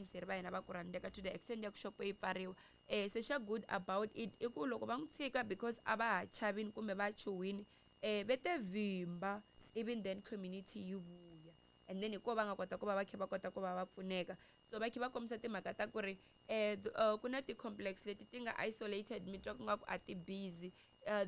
Vayingiseri va hina va ku rhandzeka, to the extent ya ku xopo yi pfariwa. Se xa good about it i ku loko va n'wi tshika, because a va ha chavini kumbe va chuhwini, ve te vhimba, even then community yi vuya, and then hikuva va nga kota ku va va kha va kota ku va va pfuneka. So va kha va kombisa timhaka ta ku ri ku na ti-complex leti ti nga isolated, mi twa ku nga ku a ti busy,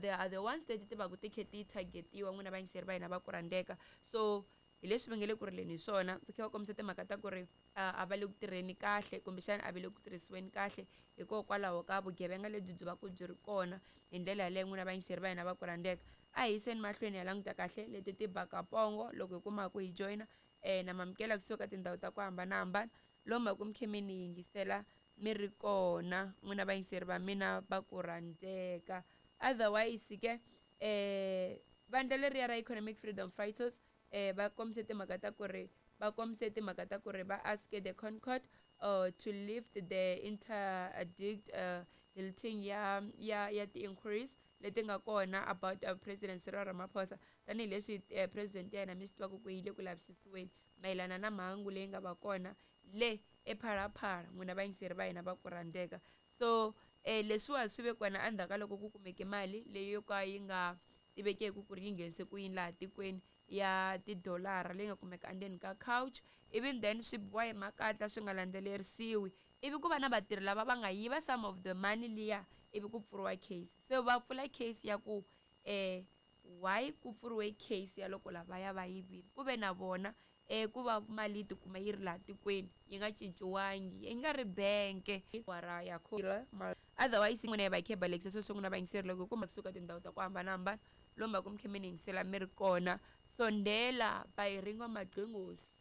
they are the ones leti ti va ku ti kha ti targetiwa, n'wina vayingiseri va hina va ku rhandzeka. So hi leswi va nge le ku rileni hi swona, va kha va kombisa timhaka ta ku ri a va le ku tirheni kahle, kumbexana a va le ku tirhisiweni kahle hikokwalaho ka vugevenga lebyi byi va ku byi ri kona hi ndlela yaleyo. N'wina vayingiseri va hina va ku rhandzeka, a hi yiseni mahlweni hi languta kahle leti ti baka pongo. Loko hi kuma ku hi joyina, na mamukela kusuka ka tindhawu ta ku hambanahambana lomu va ku mi khe mi ni yingisela mi ri kona, n'wina vayingiseri va mina va ku rhandzeka. Otherwise ke, vandla leriya ra Economic Freedom Fighters va kombise timhaka ta ku ri va kombise timhaka ta ku ri va ask the Concord to lift the interdict halting ya ti-inquiries leti nga kona about President Cyril Ramaphosa, tanihileswi president ya yena mi swi tivaka ku yi le ku lavisisiweni mayelana na mhangu leyi nga va kona le ePhalaphala, n'wina vayingiseri va hina va ku rhandzeka. So leswiwa swi ve kona endzhaku ka loko ku kumeke mali leyi yo ka yi nga tivekeki ku ri yi nghenise ku yini laha tikweni, ya tidolara leyi nga kumeka endzeni ka couch, even then swi biwa hi makatla swi nga landzelerisiwi, ivi ku va na vatirhi lava va nga yiva some of the money liya, ivi ku pfuriwa case. Se va pfula case ya ku why ku pfuriwe case ya loko lavaya va yivile, ku ve na vona ku va mali yi tikuma yi ri laha tikweni yi nga cinciwangi, yi nga ri benke ra ya. Otherwise n'wina hi va khe balekisa sweswo, n'wina vayingiseri, loko hi kuma kusuka tindhawu ta ku hambanahambana lomu va ku mi khe mi ni yingisela mi ri kona. Sondela by Ringo Magqingosi.